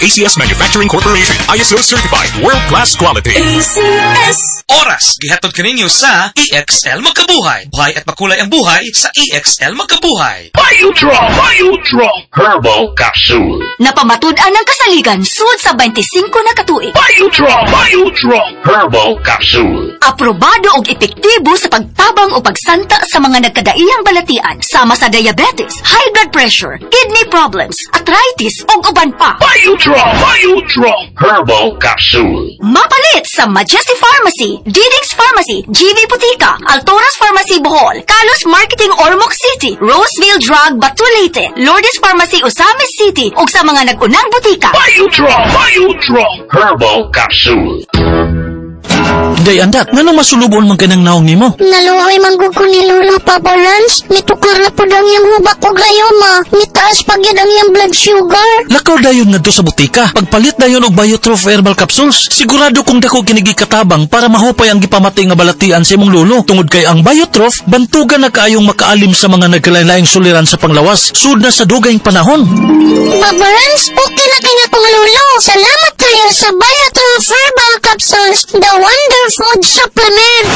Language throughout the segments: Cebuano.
ACS Manufacturing Corporation. ISO certified, world-class quality. ACS. Oras, gihatod kaninyo sa EXL Magkabuhay. Buhay at makulay ang buhay sa EXL Magkabuhay. Biotron! Biotron! Herbal Capsule. Napamatud-an ang kasaligan sud sa 25 na katuig. Biotron! Biotron! Herbal Capsule. Aprobado og epektibo sa pagtabang o pagsanta sa mga nagkadaiyang balatian sama sa diabetes, high blood pressure, kidney problems, arthritis ug uban pa. Biotron! Biotron! Herbal Capsule. Mapalit sa Majesty Pharmacy, Diding's Pharmacy, GV Putika, Altoras Pharmacy Bohol, Carlos Marketing Ormoc City, Roseville Drug Bato Leyte, Lourdes Pharmacy Ozamiz City ug sa mga nag-unang butika. Biotron! Biotron! Herbal Capsule. Day andak, nganong masulubon man kanang naong nimo? Naluoy man gud ko ni Lolo, Papa Rans. Mitukar na pud ang iyang hubak og rayoma. Mitaas pa gyud ang iyang blood sugar. Lakaw dayon ngadto sa butika. Pagpalit dayon og Biotroph Herbal Capsules. Sigurado kong dako kini katabang para mahupay ang gipamati nga balatian sa imong lolo. Tungod kay ang Biotroph, bantugan na kaayong makaalim sa mga nagkalain-laing suliran sa panglawas. Sud na sa dugayng panahon. Papa Rans, okay na kay akong lolo. Salamat kayo sa Biotroph Herbal Capsules, the wonder food supplement.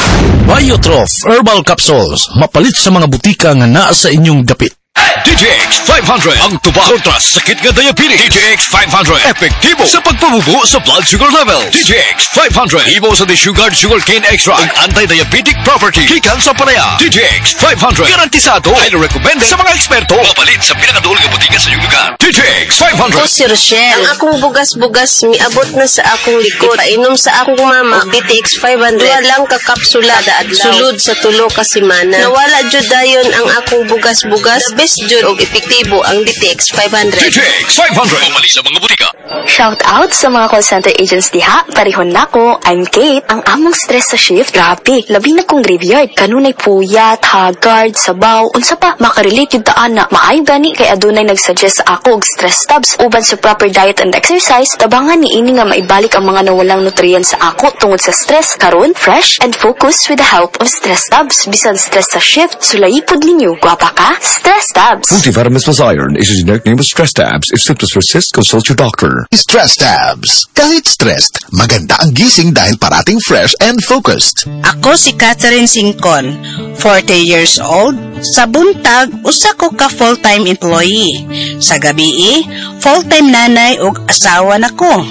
Biotroph Herbal Capsules. Mapalit sa mga butika nga naa sa inyong dapit. DTX 500 ang tubag kontra sakit nga diabetes. DTX 500 epektibo sa pagpabubo sa blood sugar level. DTX 500 himo sa desugared sugar cane extract ang anti-diabetic property gikan sa palaya. DTX 500 garantisado, highly recommended sa mga eksperto. Mapalit sa pinakaduol nga butika sa inyong lugar. DTX 500. Ako si Rochelle. Ang akong bugas-bugas miabot na sa akong likod. Painom sa akong mama og DTX 500. Duha lang ka kapsula kada adlaw. Sulod sa 3 ka semana. Nawala jud dayon ang akong bugas-bugas. The best jud og epektibo ang DTX 500. DTX 500. Mapalit sa mga butika. Shout out sa mga call center agents diha. Parihon nako. I'm Kate. Ang among stress sa shift, grabe. Labi na kung graveyard. Kanunay puyat, haggard, sabaw, unsa pa. Makarelate yung taan na. Maayo gani kay adunay nagsuggest sa ako og Stress Tabs. Uban sa proper diet and exercise, tabangan ni ini nga maibalik ang mga nawalang nutrients sa ako tungod sa stress. Karon, fresh and focus with the help of Stress Tabs. Bisan stress sa shift, sulayi pod ninyo. Gwapa ka? Stress Tabs. Multivitamins plus iron is a generic name of Stress Tabs. If symptoms persist, consult your doctor. Stress Tabs. Kahit stressed, maganda ang gising dahil parating fresh and focused. Ako si Catherine Singcon, 40 years old. Sa buntag, usa ko ka full-time employee. Sa gabii, full-time nanay ug asawa nako.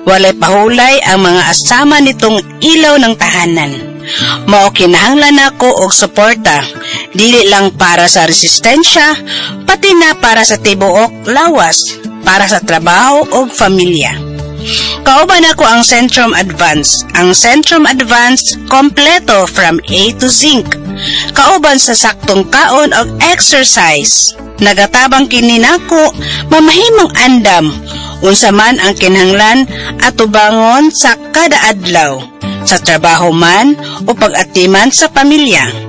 Walay pahulay ang mga asama nitong ilaw ng tahanan. Mao kinahanglan nako og suporta, dili lang para sa resistensya, pati na para sa tibuok lawas, para sa trabaho ug pamilya. Kauban ako ang Centrum Advance. Ang Centrum Advance kompleto from A to Zinc. Kauban sa saktong kaon og exercise. Nagatabang kini nako mamahimong andam unsa man ang kinahanglan atubangon sa kada adlaw, sa trabaho man o pag-atiman sa pamilya.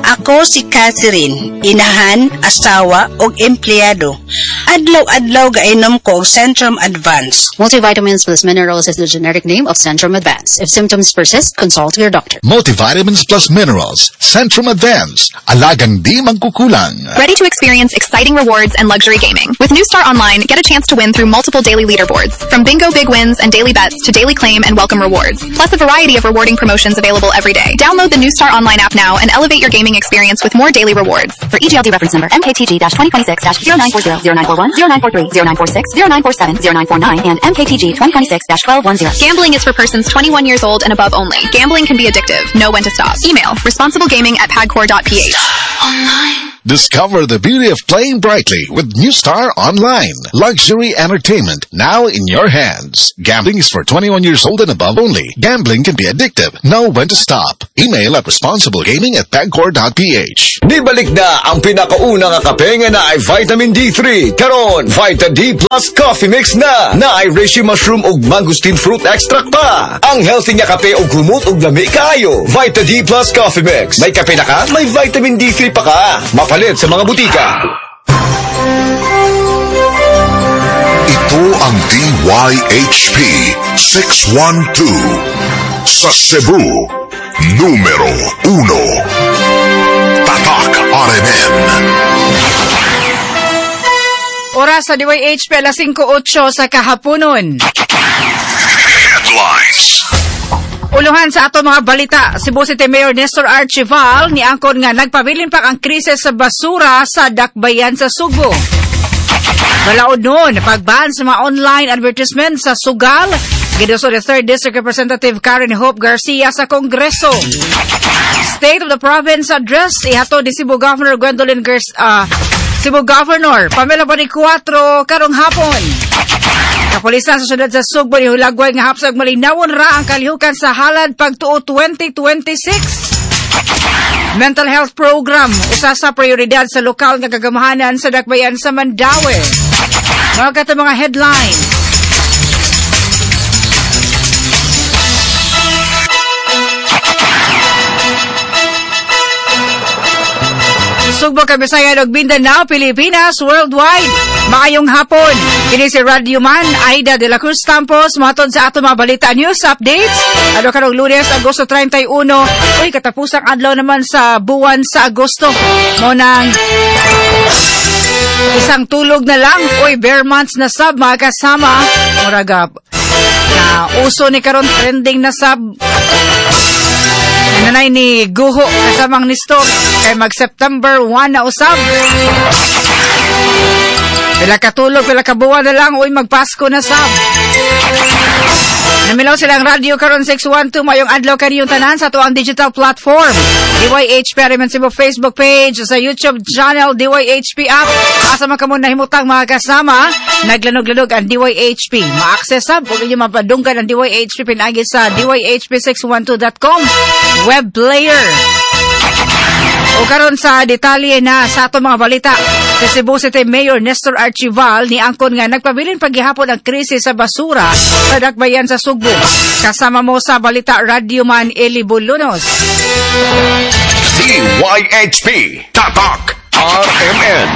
Ako si Catherine, inahan, asawa ug empleyado. Adlaw-adlaw gainom ko og Centrum Advance. Multivitamins plus minerals is the generic name of Centrum Advance. If symptoms persist, consult your doctor. Multivitamins plus minerals. Centrum Advance. Alagang di mangkukulang. Ready to experience exciting rewards and luxury gaming? With New Star Online, get a chance to win through multiple daily leaderboards. From bingo big wins and daily bets to daily claim and welcome rewards. Plus a variety of rewarding promotions available every day. Download the New Star Online app now and elevate your gaming experience with more daily rewards. For EGLD reference number MKTG-2026-0940, 0941, 0943, 0946, 0947, 0949, and MKTG 2026-1210. Gambling is for persons 21 years old and above only. Gambling can be addictive. Know when to stop. Email responsiblegaming@pagcor.ph. Discover the beauty of playing brightly with New Star Online. Luxury entertainment now in your hands. Gambling is for 21 years old and above only. Gambling can be addictive. Know when to stop. Email at responsiblegaming@pagcor.ph. Nibalik na ang pinakauna nga kape nga naay vitamin D3. Karon, Vita D Plus Coffee Mix na. Naay reishi mushroom ug mangosteen fruit extract pa. Ang healthy nga kape ug humot ug lami kaayo. Vita D Plus Coffee Mix. May kape na ka, may vitamin D3 pa ka. Mapalit sa mga butika. Ito ang DYHP 612 sa Cebu, numero 1. Tatak RMN. Oras sa DYHP alas 5:08 sa kahaponon. Headlines. Uluhan sa ato mga balita, Cebu City Mayor Nestor Archival niangkon nga nagpabilin pa ang krisis sa basura sa Dakbayan sa Sugbo. Balaod nun, pagban sa mga online advertisement sa sugal, giduso ni 3rd District Representative Karen Hope Garcia sa Kongreso. State of the Province Address, ihatod ni Cebu Governor Gwendolyn Cebu Governor Pamela Baricuatro karong hapon. Kapulisan sa syudad sa Sugbo ni hulagway nga hapsag malinawon ra ang kalihukan sa halad pagtuo 2026. Mental health program usa sa prioridad sa lokal nga gagamahanan sa Dakbayan sa Mandaue. Mga kato mga headlines. Sugbo, Kabisayan ug Mindanao, Pilipinas, worldwide. Maayong hapon. Kini si Radio Man Aida de la Cruz Campos mohatod sa ato mga balita news updates. Ano karong Lunes, Agosto 31. Uy, katapusang adlaw naman sa buwan sa Agosto. Mao nang isang tulog na lang. Uy, bare months na sab mga kasama. Murag na uso ni karon trending na sab. Nanay ni Guho kasamang ni Nestor kay mag September 1 na usab. Pila katulog, pila kabuwan na lang, uy magpasko na sab. Namilaw silang radyo karon 612 mayong adlaw kaniyong tanan sa tuang digital platform. DYHP Ariman Cebu Facebook page, sa YouTube channel DYHP app. Asa man kamo nahimutang mga kasama, naglanog-lanog ang DYHP. Ma-access sab ug inyo mapadunggan ang DYHP pinaagi sa dyhp612.com web player. O karon sa detalye na sa ato mga balita, sa Cebu City Mayor Nestor Archival niangkon nga nagpabilin paghihapon ang krisis sa basura sa Dakbayan sa Sugbo. Kasama mo sa balita Radyoman Eli Bulunos. DYHP Tatak RMN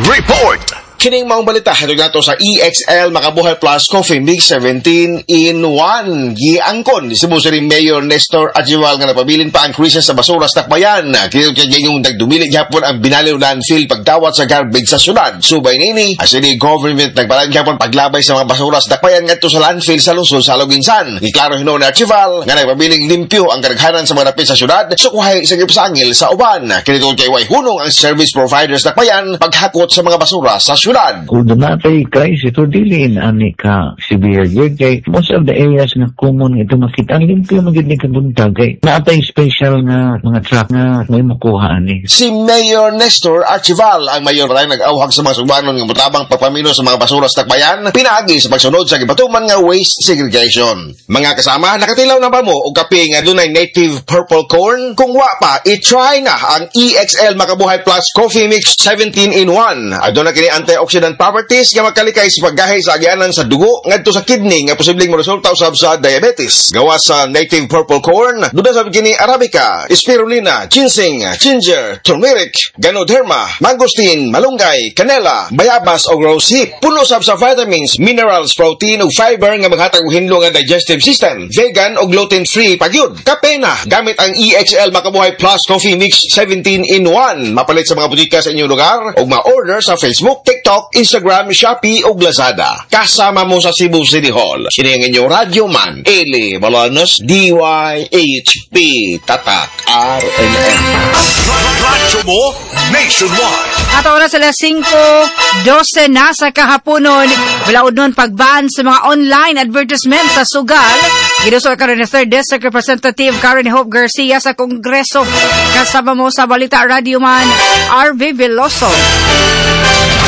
Report. Kining maong balita hatod nato sa EXL Makabuhay Plus Coffee Mix 17 in 1. Giangkon ni Cebu City Mayor Nestor Archival nga napabilin pa ang krisis sa basura sa Dakbayan. Kini kay gayong nagdumili gyapon ang Binaliw landfill pagdawat sa garbage sa syudad. Subay nini, ang city government nagbalan gyapon paglabay sa mga basura sa Dakbayan ngadto sa landfill sa lungsod sa Aloguinsan. Giklaro hinuon ni Archival nga nagpabiling limpyo ang kadaghanan sa mga dapit sa syudad sukuhay sa gipasangil sa uban. Kini tungod kay way hunong ang service providers Dakbayan paghakot sa mga basura sa syudad. Kung dunatay crisis, ito dili ani ka severe gyud kay most of the areas nga common ito makita ang limpyo man gyud ni kabuntag kay naatay special nga mga truck nga may makuha ani. Si Mayor Nestor Archival ang mayor pa nag-awhag sa mga Sugbanon nga motabang pagpamino sa mga basura sa Dakbayan pinaagi sa pagsunod sa gibatuman nga waste segregation. Mga kasama, nakatilaw na ba mo og kape nga dunay native purple corn? Kung wa pa, i-try na ang EXL Makabuhay Plus Coffee Mix 17 in 1. Aduna kini antioxidant properties nga makalikay sa paggahi sa agianan sa dugo ngadto sa kidney nga posibleng moresulta usab sa diabetes. Gawas sa native purple corn, duna sa kini arabica, spirulina, ginseng, ginger, turmeric, ganoderma, mangosteen, malunggay, kanela, bayabas o rosehip. Puno sab sa vitamins, minerals, protein ug fiber nga maghatag og hinlo nga digestive system. Vegan o gluten-free pagyud. Kape na gamit ang EXL Makabuhay Plus Coffee Mix 17 in 1. Mapalit sa mga butika sa inyong lugar ug ma-order sa Facebook, TikTok, Instagram, Shopee o Lazada. Kasama mo sa Cebu City Hall. Sini ang inyong radyo man, Eli Bolanos, DYHP Tatak RMN. Radyo mo nationwide. At oras alas 5:12 na sa kahaponon. Balaod nun pagban sa mga online advertisement sa sugal. Giduso karon ni 3rd District Representative Karen Hope Garcia sa Kongreso. Kasama mo sa balita Radyoman RV Veloso.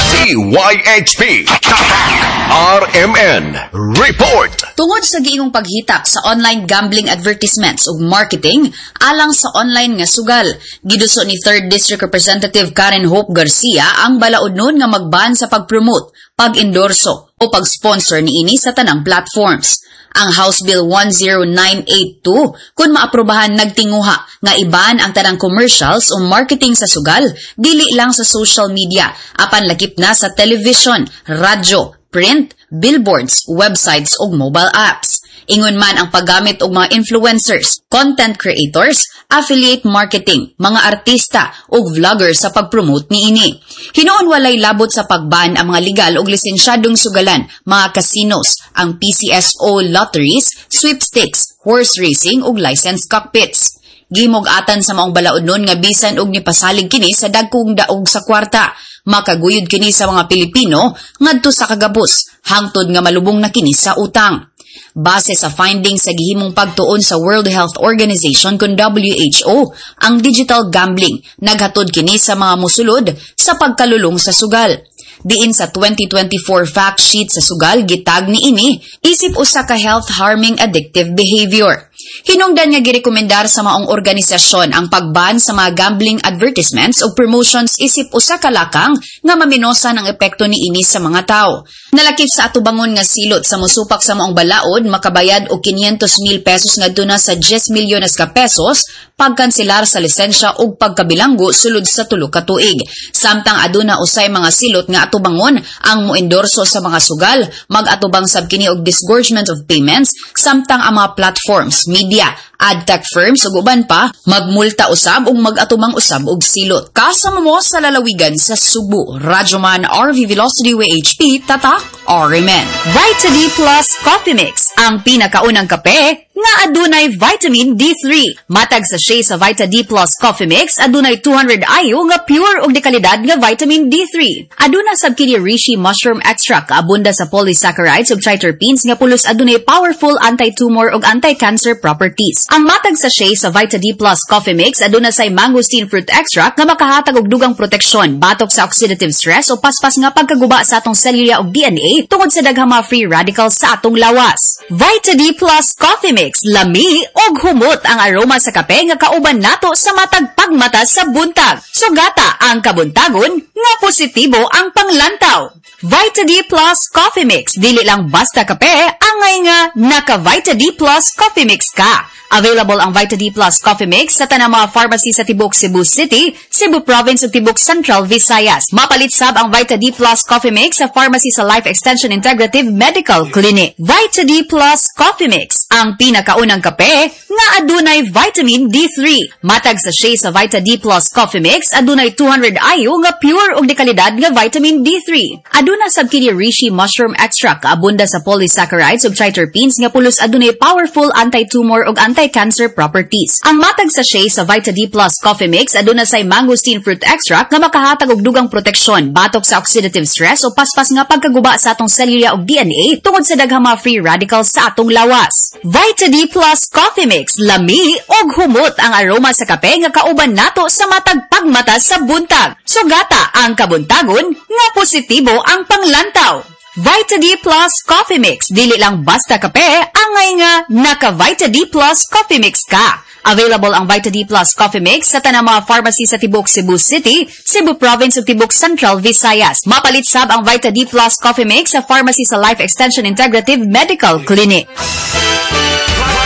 DYHP Tatak RMN Report. Tungod sa giingong paghitak sa online gambling advertisements ug marketing alang sa online nga sugal, giduso ni 3rd District Representative Karen Hope Garcia ang balaod nun nga magban sa pag-promote, pag-endorso o pag-sponsor niini sa tanang platforms. Ang House Bill 10982 kung maaprobahan nagtinguha nga iban ang tanang commercials o marketing sa sugal dili lang sa social media apan lakip na sa television, radyo, print, billboards, websites ug mobile apps. Ingon man ang paggamit og mga influencers, content creators, affiliate marketing, mga artista ug vloggers sa pag-promote niini. Hinuon walay labot sa pagban ang mga legal ug lisensyadong sugalan, mga casinos, ang PCSO lotteries, sweepstakes, horse racing ug licensed cockpits. Gimog-atan sa maong balaod nun nga bisan og nipasalig kini sa dagkong daog sa kwarta, makaguyod kini sa mga Pilipino ngadto sa kagabos, hangtod nga malubong na kini sa utang. Base sa findings sa gihimong pagtuon sa World Health Organization kon WHO, ang digital gambling naghatod kini sa mga musulod sa pagkalulong sa sugal. Diin sa 2024 fact sheet sa sugal, gitag ni ini isip usa ka health-harming addictive behavior. Hinungdan nga girekomendar sa maong organisasyon ang pagban sa mga gambling advertisements o promotions isip usa ka lakang nga maminosan ang epekto niini sa mga tao. Nalakip sa atubangon nga silot sa mosupak sa maong balaod, makabayad og 500,000 pesos ngadto na sa 10 milyones ka pesos, pagkanselar sa lisensya ug pagkabilanggo sulod sa 3 ka tuig. Samtang aduna usay mga silot nga atubangon ang moendorso sa mga sugal, mag-atubang sab kini og disgorgement of payments, samtang ang mga platforms, media, ad tech firms ug uban pa magmulta usab ug mag-atubang usab og silot. Kasama mo sa lalawigan sa Subo, Radyoman RV Velocity WHP, Tatak RMN. Vita D Plus Coffee Mix, ang pinakaunang kape nga adunay vitamin D3. Matag sachet sa Vita D Plus Coffee Mix adunay 200 IU nga pure ug dekalidad nga vitamin D3. Aduna sab kini reishi mushroom extract abunda sa polysaccharides ug triterpenes nga pulos adunay powerful anti-tumor ug anti-cancer properties. Ang matag sachet sa Vita D Plus Coffee Mix aduna say mangosteen fruit extract nga makahatag og dugang proteksyon batok sa oxidative stress o paspas nga pagkaguba sa atong selula ug DNA tungod sa daghang mga free radicals sa atong lawas. Vita D Plus Coffee Mix, lami og humot ang aroma sa kape nga kauban nato sa matag pagmata sa buntag. Sugata ang kabuntagon nga positibo ang panglantaw. Vita D Plus Coffee Mix, dili lang basta kape, angay nga naka Vita D Plus Coffee Mix ka. Available ang Vita D Plus Coffee Mix sa tanang mga pharmacy sa Tibok Cebu City, Cebu Province ug Tibok Central Visayas. Mapalit sab ang Vita D Plus Coffee Mix sa pharmacy sa Life Extension Integrative Medical Clinic. Vita D Plus Coffee Mix, ang pinakaunang kape nga adunay vitamin D3. Matag sachet sa Vita D Plus Coffee Mix adunay 200 IU nga pure ug dekalidad nga vitamin D3. Aduna sab kini reishi mushroom extract abunda sa polysaccharides ug triterpenes nga pulos adunay powerful anti-tumor ug anti-cancer properties. Ang matag sachet sa Vita D Plus Coffee Mix aduna say mangosteen fruit extract nga makahatag og dugang proteksyon batok sa oxidative stress o paspas nga pagkaguba sa atong selula ug DNA tungod sa daghang mga free radicals sa atong lawas. Vita D Plus Coffee Mix, lami og humot ang aroma sa kape nga kauban nato sa matag pagmata sa buntag. Sugata ang kabuntagon nga positibo ang panglantaw. Vita D Plus Coffee Mix, dili lang basta kape, angay nga naka Vita D Plus Coffee Mix ka. Available ang Vita D Plus Coffee Mix sa tanang mga pharmacy sa Tibok Cebu City, Cebu Province ug Tibok Central Visayas. Mapalit sab ang Vita D Plus Coffee Mix sa pharmacy sa Life Extension Integrative Medical Clinic.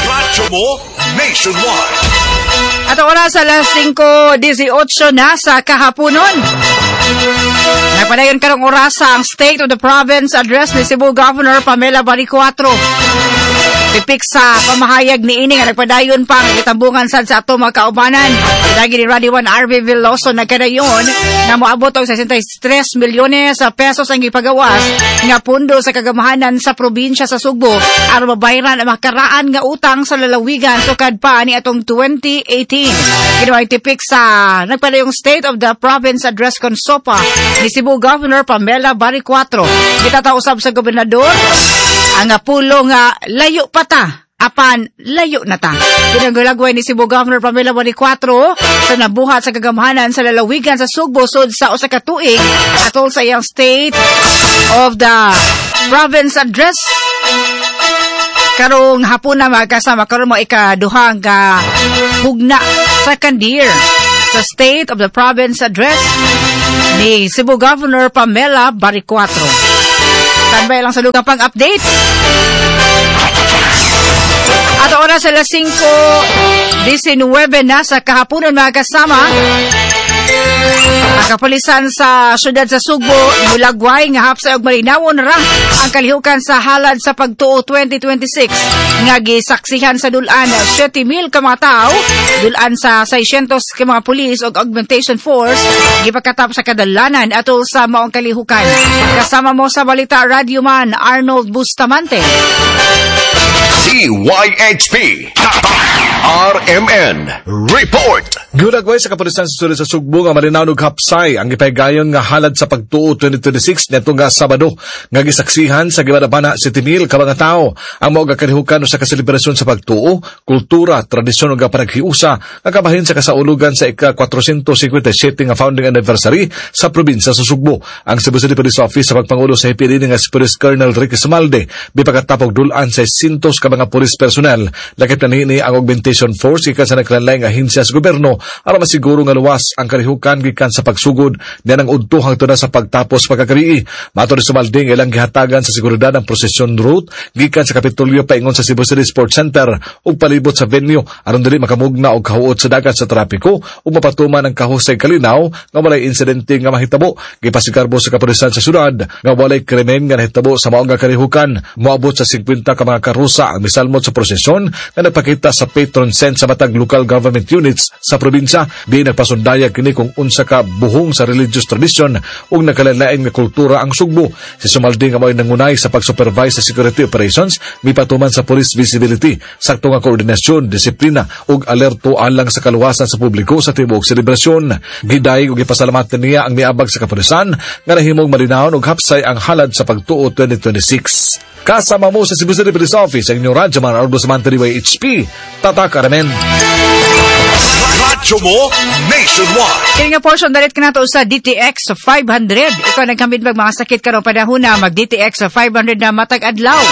Radyo mo nationwide. At oras alas 5:18 na sa kahaponon. Nagpadayon karong orasa ang State of the Province Address ni Cebu Governor Pamela Baricuatro. Pipik sa pamahayag ni ini nga nagpadayon pa ang gitambungan sad sa ato mga kaubanan. Dagi ni Radio 1 RV Veloso nagkadayon na moabot og 63 milyones sa pesos ang gipagawas nga pundo sa kagamahanan sa probinsya sa Sugbo aron mabayaran ang makaraan nga utang sa lalawigan sukad pa ni atong 2018. Kini tipik sa nagpadayong State of the Province Address kon SOPA ni Cebu Governor Pamela Baricuatro. Gitataw usab sa gobernador ang pulo nga layo pa ta, apan layo na ta. Ginagulagway ni Cebu Governor Pamela Baricuatro sa nabuhat sa kagamhanan sa lalawigan sa Sugbo sud sa usa ka tuig atol sa iyang State of the Province Address karong hapon na mga kasama, karon mo ikaduhang hugna second year sa State of the Province Address ni Cebu Governor Pamela Baricuatro. Standby lang sa lugar pang update. At oras alas 5:19 na sa kahaponan mga kasama. Ang kapulisan sa syudad sa Sugbo, mulagway nga hapsay og malinawon ra ang kalihukan sa halad sa pagtuo 2026 nga gisaksihan sa dulan 7,000 ka mga tawo, dulan sa 600 ka mga pulis og augmentation force gipakatap sa kadalanan atol sa maong kalihukan. Kasama mo sa balita Radyoman Arnold Bustamante. DYHP RMN Report. Gulagway sa kapulisan sa syudad sa Sugbo nga malinaw og hapsay ang gipahigayon nga halad sa pagtuo 2026 neto nga Sabado nga gisaksihan sa gibanabana 7,000 ka mga tawo. Ang mao kalihukan sa kaselebrasyon sa pagtuo, kultura, tradisyon ug panaghiusa nga kabahin sa kasaulugan sa ika-457 nga founding anniversary sa probinsya sa Sugbo. Ang Cebu City Police Office sa pagpangulo sa HPD nga si Police Colonel Ricky Sumalde bipakatapog dulan sa 600 ka mga police personnel. Lakip na niini ang augmentation force gikan sa naglain-laing ahensya sa gobyerno aron masiguro nga luwas ang kalihukan gikan sa pagsugod niya ng udto hangtod na sa pagtapos pagkagabii. Matod ni Sumalde nga ilang gihatagan sa seguridad ang procession route gikan sa Kapitolyo paingon sa Cebu City Sports Center ug palibot sa venue aron dili makamugna og kahuot sa dagat sa trapiko ug mapatuman ang kahusay kalinaw nga walay insidente nga mahitabo. Gipasigarbo sa kapulisan sa syudad nga walay krimen nga nahitabo sa maong kalihukan. Moabot sa 50 ka mga karusa ang misalmot sa prosesyon nga nagpakita sa patron saint sa matag local government units sa probinsya. Di nagpasundayag kini kung unsa ka buhong sa religious tradition ug nagkalain nga kultura ang Sugbo. Si Sumalde nga mao'y nangunay sa pag-supervise sa security operations mipatuman sa police visibility, sakto nga koordinasyon, disiplina ug alerto alang sa kaluwasan sa publiko sa tibuok selebrasyon. Gidayeg ug gipasalamatan niya ang miabag sa kapulisan nga nahimong malinawon ug hapsay ang halad sa pagtuo 2026. Kasama mo sa Cebu City Police Office ang inyong Radyoman Arnold Bustamante, DYHP. Tatak RMN. Radyo mo nationwide. Kaya nga portion dalit ka nato sa DTX 500. Ikaw nagkamit mag mga sakit karon panahon na mag DTX 500 na matag adlaw.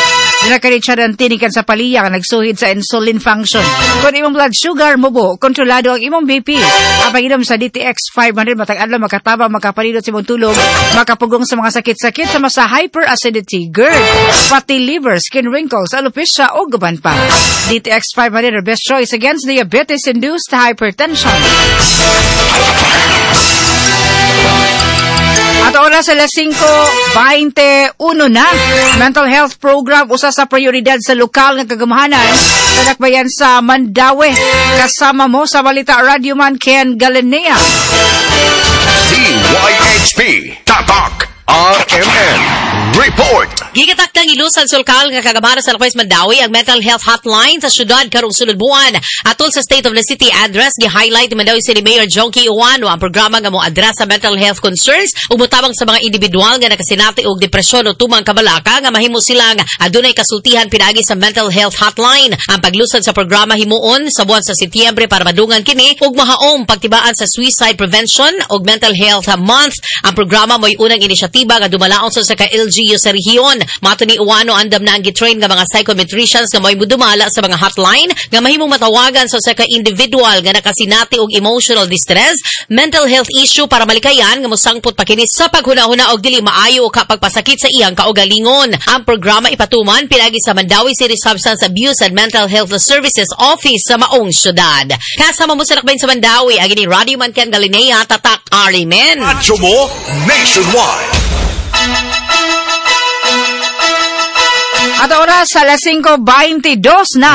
Dinakarit siya ng tinikan sa paliya nga nagsuhid sa insulin function. Kung imong blood sugar mubo, kontrolado ang imong BP. Ang pag-inom sa DTX 500 matag adlaw makatabang, makapalidot sa imong tulog, makapugong sa mga sakit-sakit sama sa hyperacidity, GERD, fatty liver, skin wrinkles, alopecia o guban pa. DTX 500 are best choice against diabetes-induced hypertension. At oras alas 5:21 na. Mental health program usa sa prioridad sa lokal nga kagamahanan sa dakbayan sa Mandaue. Kasama mo sa balita Radyoman Ken Galinea. DYHP Tatak RMN Report. Gigatak ng ilusan sa lokal nga kagamahanan sa Lakbay Mandaue ang mental health hotline sa syudad karong sulod buwan. Atol sa State of the City address, gi-highlight ni Mandaue City Mayor Jonkie Ouano ang programa nga mo-address sa mental health concerns ug motabang sa mga individual nga nakasinati og depresyon o tumang kabalaka nga mahimo silang adunay kasultihan pinaagi sa mental health hotline. Ang paglusad sa programa himuon sa buwan sa Setyembre para madungan kini ug mahaom pagtibaan sa suicide prevention ug mental health month. Ang programa mo'y unang inisyatiba nga dumalaon sa ka-LGU sa rehiyon. Mato ni Ouano, andam na ang gitrain nga mga psychometricians nga mo'y mudumala sa mga hotline nga mahimong matawagan sa usa ka individual nga nakasinati og emotional distress, mental health issue para malikayan nga mosangpot pa kini sa paghuna-huna og dili maayo o kapagpasakit sa iyang kaugalingon. Ang programa ipatuman pinagi sa Mandaue City Substance Abuse and Mental Health Services Office sa maong syudad. Kasama mo sa lakbayin sa Mandaue, ang ini Radyoman Ken Galinea, Tatak RMN. Radyo mo nationwide. At oras alas 5:22 na.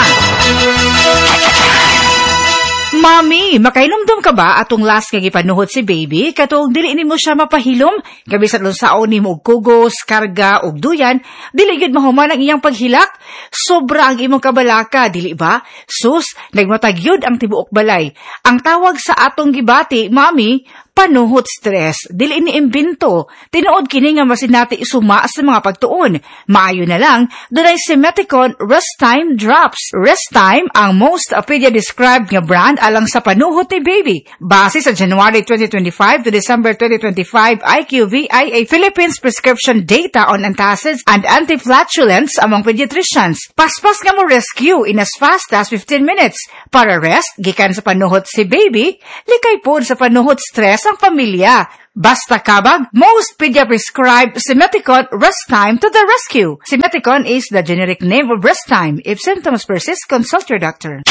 Mami, makahinumdum ka ba atong last nga gipanuhot si baby? Katong dili nimo siya mapahilom, gabi sa lunsaon nimo og kugos, karga og duyan, dili gyud mahuman ang iyang paghilak. Sobra ang imong kabalaka, dili ba? Sus, nagmatag gyud ang tibuok balay. Ang tawag sa atong gibati, mami, panuhot stress, dili ni imbento. Tinuod kini nga masinati suma sa mga pagtuon. Maayo na lang, dunay Simeticon Rest Time Drops. Rest Time ang most pedia described nga brand alang sa panuhot ni baby. Base sa January 2025 to December 2025 IQVIA Philippines prescription data on antacids and antiflatulents among pediatricians. Paspas nga mo rescue in as fast as 15 minutes. Para rest, gikan sa panuhot si baby, likay pod sa panuhot stress ang pamilya. Basta kabag, most pedia prescribed Simeticon Rest Time to the rescue. Simeticon is the generic name of Rest Time. If symptoms persist, consult your doctor.